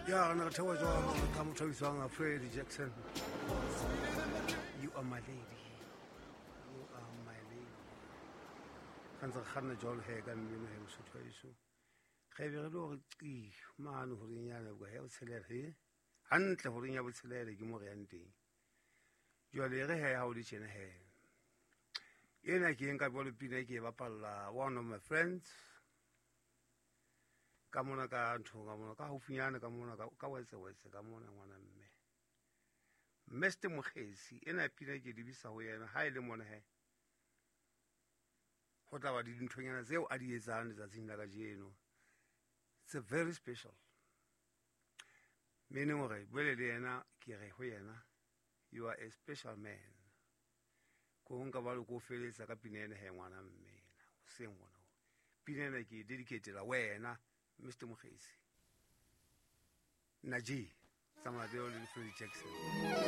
Ya re ne re theoha jwalo ka motho a bitswang Freddie Jackson. You are my lady. You are my lady. Ga ntse re kganna jwalo he ka mmino he Mosotho wa heso. Ge be re le gore qi mane horeng ya leboha ya botshelela he. Hantle horeng ya botshelela ke mo re yang teng. Jwale re he ha o le tjena he. Ena ke nka jwalo pina ke e bapalla one of my friends. Ka mona ka ntho ka mona ka haufinyana ka mona ka wetse wetse ka mona ngwana mme. Mr Mokgesi ena pina ke lebisa ho yena ha e le mona he. Ho tla ba di dinthonyana tseo a di etsang letsatsing la kajeno. It's a very special. Meaning hore bole le yena ke re ho yena you are a special man. Ko nka ba le ko feletsa ka pina ena he ngwana mme ena. Hoseng ngwana. Pina ena ke dedicatela wena Mr Mokgesi. Naji, tsamaya le Freddie Jackson.